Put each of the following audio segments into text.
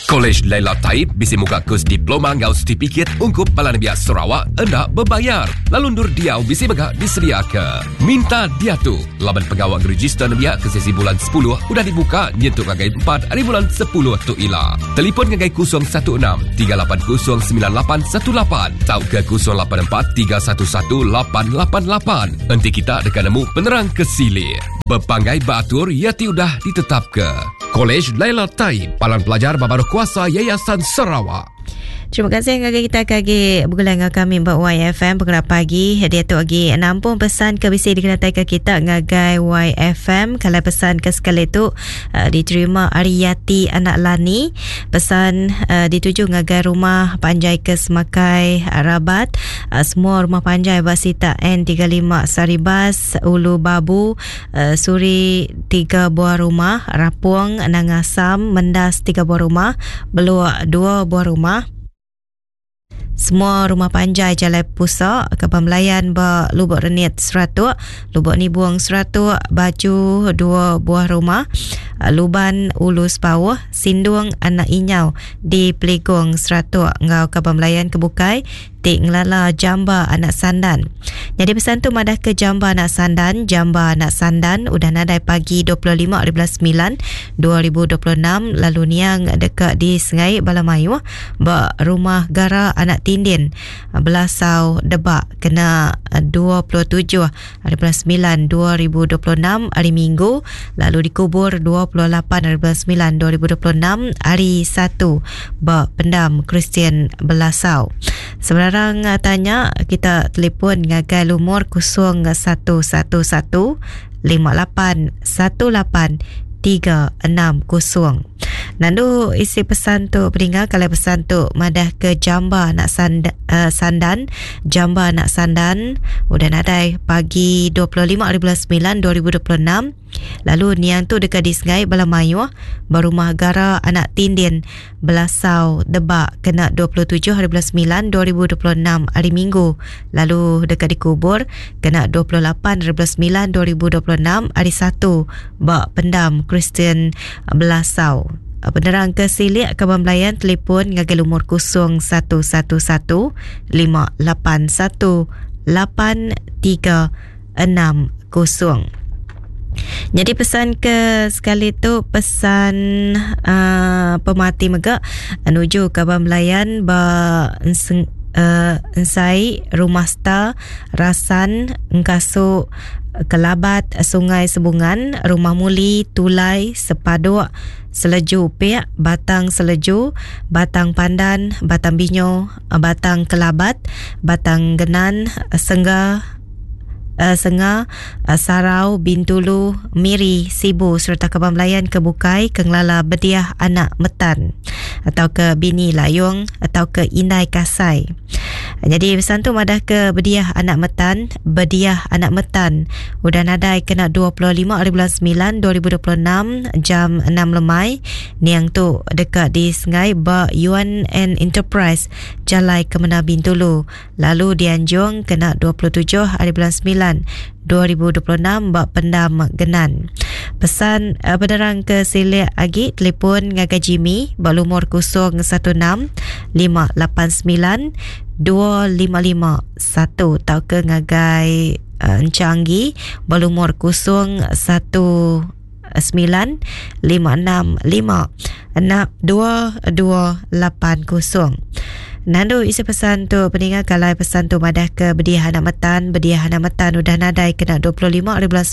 Kolej Laila Taib bisi muka kus diploma enggau setipikit ungkup bala nembiak Sarawak enda bebayar lalu endur diau bisi mega disediaka. Minta diatu laban pengawa ngerejista nembiak ke sesi bulan sepuluh udah dibuka nyentuk ngagai empat ari bulan sepuluh tu ila. Telipon ngagai 016 380 9818 tauka 084 311 888 enti kita deka nemu penerang ke silik. Bepanggai ba atur iya ti udah ditetapka. Kolej Laila Taib, Palan Pelajar ba Baruh Kuasa Yayasan Sarawak. Terima kasih ngagai kita ke agi begulai enggau kami ba YFM pengelap pagi. Diatu agi nampung pesan ke bisi dikenatai ke kita ngagai YFM. Kalau pesan ke sekali tu uh, diterima ari Yati Anak Lani. Pesan uh, dituju ngagai rumah panjai ke Semakai Rabat. Uh, semua rumah panjai ba sitak N35 Saribas, Ulu Babu, Suri tiga buah rumah, Rapong, Nanga Sam, Mendas tiga buah rumah, Beluk dua buah rumah. Semua rumah panjai Jalai Pusa, Kaban Belayan ba Lubok Renit Seratuk, Lubok Nibung Seratuk, Baju dua buah rumah, Luban Ulu Sepauh, Sindung Anak Inyau di Peligong Seratuk enggau kaban belayan ke bukai ti ngelala Jamba anak Sandan. Nyadi pesan tu madahka Jamba anak Sandan, Jamba anak Sandan udah nadai pagi 25 ari bulan semilan 2026 lalu niang deka disengai bala mayuh ba Rumah Gara anak Tindin, Belasau, Debak kena 27 ari bulan semilan 2026 hari Minggu lalu dikubur 28 ari bulan semilan 2026 hari Satu ba Pendam Kristian Belasau. Sebarang tanya kita telefon ngagai lumur 0111 58 18 360. Nandu isi pesan tu peninga kalai pesan tu madah ke jamba anak sand, uh, sandan jamba anak sandan udah nadai pagi 25 hari bulan 9 2026 lalu niang tu deka disengai bala mayuh ba rumah gara anak Tindin Belasau Debak kena 27 hari bulan 9 2026 hari Minggu lalu deka dikubur kena 28 hari bulan 9 2026 hari Satu ba Pendam Kristian Belasau. Penerang ke silik kaban belayan telefon ngagai lumur 0111 581 8360. Jadi pesan ke sekali tu pesan uh, pemati mega nuju kaban belayan ba enseng, uh, ensai rumah star rasan engkasu Kelabat, Sungai Sebungan, Rumah Muli, Tulai, Sepaduk, Seleju Upik, Batang Seleju, Batang Pandan, Batang Binyo, Batang Kelabat, Batang Genan, Sengga, Senga, Sarau, Bintulu, Miri, Sibu sereta kaban belayan ke bukai ke ngelala Bediah Anak Metan tauka Bini Layong tauka Indai Kasai. Nyadi pesan tu madah ke Bediah Anak Metan, Bediah Anak Metan udah nadai kena 25 hari bulan 9 2026 jam 6 lemai. Niang tu deka disengai ba Yuan and Enterprise Jalai Kemena Bintulu lalu dianjung kena 27 hari bulan 9 2026 ba Pendam Genan. Pesan uh, penerang ke silik agi telefon ngagai Jimmy ba lumur 016 589 2551 tauka ngagai uh, Encanggi ba lumur 01 9 5 6 5 6 2 2 8 0. Nandu isi pesan tu peninga kalai pesan tu madah ke Bediah Anak Metan Bediah Anak Metan udah nadai kena 25 hari bulan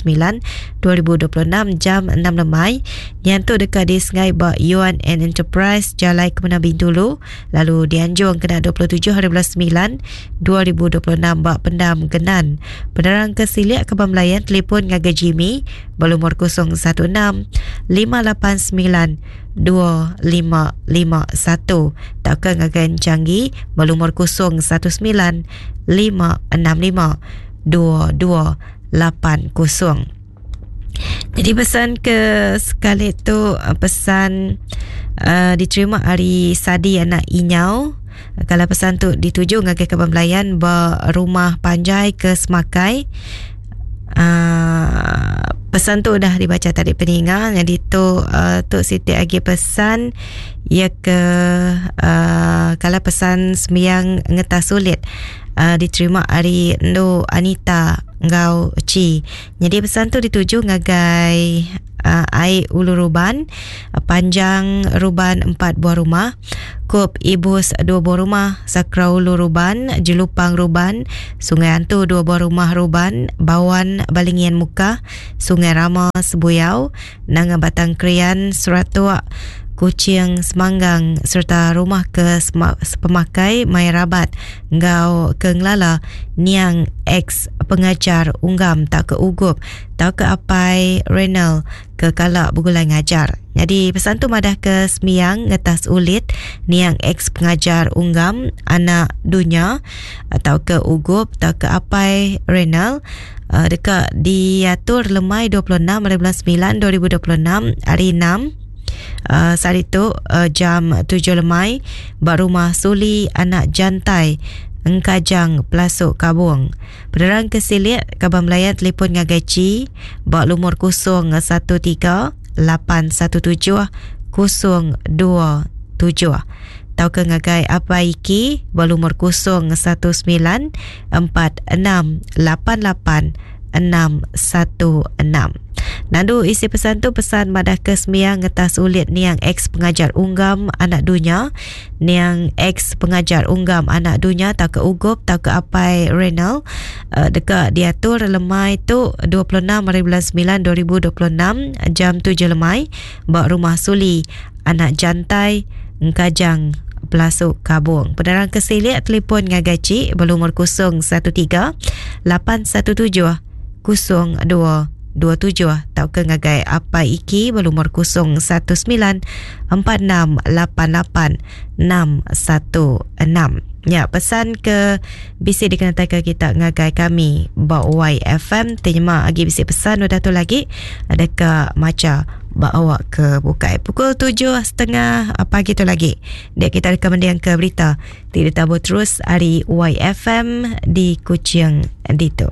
9 2026 jam 6 lemai Nian tu deka disengai ba Yuan and Enterprise Jalai Kemena Bintulu lalu dianjung kena 27 hari bulan 9 2026 ba Pendam Genan. Penerang ke silik ke Belayan telefon ngagai Jimmy ba lumur 016 589 2551 tauka ngagai Encanggi ba lumur 019 565 2280. Jadi pesan ke sekali tu eh, pesan uh, diterima ari Sadi anak Inyau. Kalau pesan tu dituju ngagai kaban belayan ba rumah panjai ke Semakai. Uh, pesan tu udah dibaca tadi peninga. Jadi tu uh, tu siti agi pesan ia ke uh, kalau pesan sembiang ngetas sulit uh, diterima ari Endu Anita enggau Chi. Jadi pesan tu dituju ngagai uh, ai Ulu Ruban, uh, panjang Ruban empat buah rumah, Kup Ibus dua buah rumah, Sakra Ulu Ruban, Jelupang Ruban, Sungai Antu dua buah rumah Ruban, Bawan Balingian Mukah, Sungai Rama Sebuyau, Nanga Batang Krian Seratuk, Kuching Semanggang sereta rumah ke sepemakai Mai Rabat enggau ke ngelala niang ex pengajar Unggam tauka Ugup tauka apai Renald ke kala begulai ngajar. Nyadi pesan tu madah ke sembiang ngetas ulit niang ex pengajar Unggam anak dunya tauka Ugup tauka apai Renald deka diatur lemai 26 hari bulan 9 2026 hari 6 uh, sehari tu uh, jam 7 lemai ba rumah Suli anak Jantai Engkajang Pelasuk Kabung. Penerang ke silik kaban belayan telefon ngagai Chi ba lumur 013 817 027 tauka ngagai Apai Iki ba lumur 019 46 88 616. Nandu isi pesan tu pesan madah ke sembiang ngetas ulit niang ex pengajar Unggam anak dunya niang ex pengajar Unggam anak dunya tauka Ugup tauka apai Renald uh, deka diatur lemai tu 26 hari bulan 9 2026 jam 7 lemai ba rumah Suli anak Jantai Engkajang Pelasuk Kabung. Penerang ke silik telefon ngagai Cik berlumur 013 817 0227 tauka ngagai Apai Iki berlumur 019 4688 616. Ya, pesan ke bisi dikenatai ke kita ngagai kami ba YFM terima agi bisi pesan udah tu lagi ada ke maca ba awak ke bukai. Pukul 7.30 pagi tu lagi. Dia kita akan mendiang ke berita ti ditabur terus ari YFM di Kuching ditu.